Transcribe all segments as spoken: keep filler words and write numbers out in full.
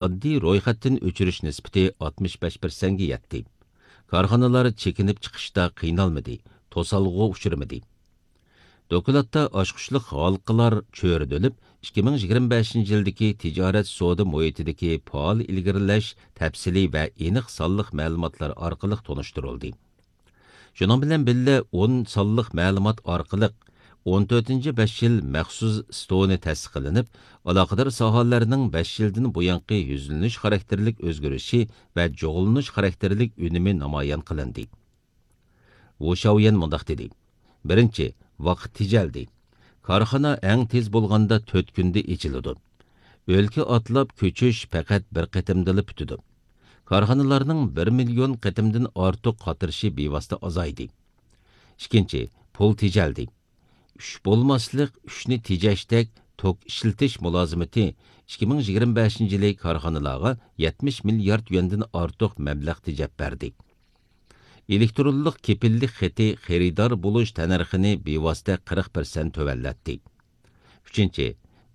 ئاددىي رويخەتتىن ئۆچۈرۈش نىسبىتى ئاتمىش بەش پىرسەنتكە يەتتى. كارخانىلار چېكىنىپ چىقىشتا قىينالمىدى، توسالغۇغا ئۇچرىمىدى. دوكلاتتا ئاچقۇچلۇق ھالقىلار چۆرىدىلىپ، ئىككى مىڭ يىگىرمە بەشىنچى يىلدىكى تىجارەت سودا مۇھىتىدىكى پائال ئىلگىرىلەش تەپسىلىي ۋە ئېنىق سانلىق مەلۇماتلار ئارقىلىق تونۇشتۇرۇلدى. شۇنىڭ بىلەن بىللە، ئون سانلىق مەلۇمات ئارقىلىق ئون تۆتىنچى بەش يىل مەخسۇس ستونى تەسىس قىلىنىپ، ئالاقىدار ساھەلەرنىڭ بەش يىلدىن بۇيانقى يۈزلىنىش خاراكتېرلىك ئۆزگىرىشى ۋە جۇغلىنىش خاراكتېرلىك ئۈنۈمى نامايان قىلىندى. ۋۇ شاۋيەن مۇنداق دېدى: بىرىنچى، ۋاقىت تېجەلدى. كارخانا ئەڭ تېز بولغاندا تۆت كۈندە ئېچىلىدۇ. ئۆلكە ئاتلاپ كۆچۈش پەقەت بىر قېتىمدىلا پۈتىدۇ. كارخانىلارنىڭ بىر مىليون قېتىمدىن ئارتۇق قاتنىشى بىۋاسىتە ئازايدى. ئىككىنچى، پۇل تېجەلدى. ئۈچ بولماسلىق، ئۈچنى تېجەشتەك توك ئىشلىتىش مۇلازىمىتى ئىككى مىڭ يىگىرمە بەشىنچى يىلى كارخانىلارغا يەتمىش مىليارد يۈەندىن ئارتۇق مەبلەغ تېجەپ بەردى. ئېلېكترونلۇق كېپىللىك خېتى خېرىدار بولۇش تەننەرخىنى بىۋاسىتە قىرىق پىرسەنت تۆۋەنلەتتى. ئۈچىنچى،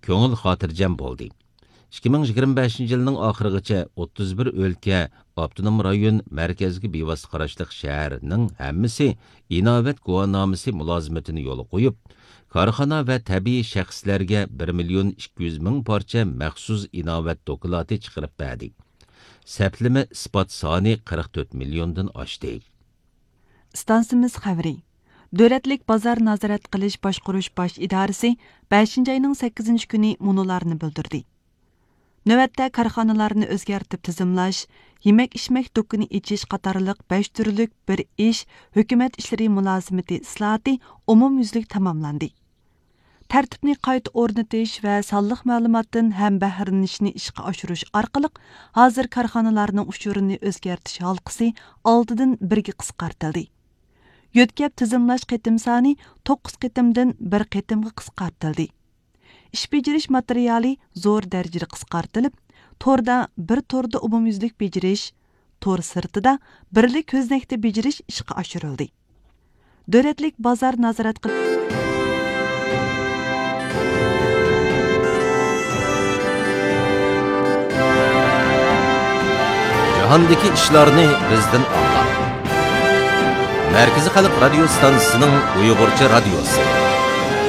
كۆڭۈل خاتىرجەم بولدى. ئىككى مىڭ يىگىرمە بەشىنچى يىلنىڭ ئاخىرىغىچە ئوتتۇز بىر ئۆلكە، ئاپتونوم رايون، مەركەزگە بىۋاسىتە قاراشلىق شەھەرنىڭ ھەممىسى ئىناۋەت گۇۋاھنامىسى مۇلازىمىتىنى يولغا قويۇپ، كارخانا ۋە تەبىئىي شەخسلەرگە بىر مىليون ئىككى يۈز مىڭ پارچە مەخسۇس ئىناۋەت دوكلاتى چىقىرىپ بەردى. سەپلىمە ئىسپات سانى قىرىق تۆت مىليوندىن ئاشتى. ئىستانسىمىز خەۋىرى. دۆلەتلىك بازار نازارەت قىلىش باشقۇرۇش باش ئىدارىسى بەشىنچى ئاينىڭ سەككىزىنچى كۈنى مۇنۇلارنى بىلدۈردى. نۆۋەتتە كارخانىلارنى ئۆزگەرتىپ تىزىملاش، يېمەك-ئىچمەك دۇكىنى ئېچىش قاتارلىق بەش تۈرلۈك بىر ئىش، ھۆكۈمەت ئىشلىرى مۇلازىمىتى ئىسلاھاتى ئومۇميۈزلۈك تاماملاندى. تەرتىپنى قايتا ئورنىتىش ۋە سانلىق مەلۇماتتىن ھەمبەھىرلىنىشنى ئىشقا ئاشۇرۇش ئارقىلىق، ھازىر كارخانىلارنىڭ ئۇچۇرىنى ئۆزگەرتىش ھالقىسى ئالتىدىن بىرگە قىسقارتىلدى. يۆتكەپ تىزىملاش قېتىم سانى توققۇز قېتىمدىن بىر قېتىمغا قىسقارتىلدى. ئىش بېجىرىش ماتېرىيالى زور دەرىجىدە قىسقارتىلىپ، توردا بىر توردا ئومۇميۈزلۈك بېجىرىش، تور سىرتىدا بىرلا كۆزنەكتە بېجىرىش ئىشقا ئاشۇرۇلدى. دۆلەتلىك بازار نازارەت قىلىش. جاھاندىكى ئىشلارنى بىزدىن ئاڭلاڭ. مەركىزىي خەلق رادىيو ستانسىسىنىڭ ئۇيغۇرچە رادىيوسى.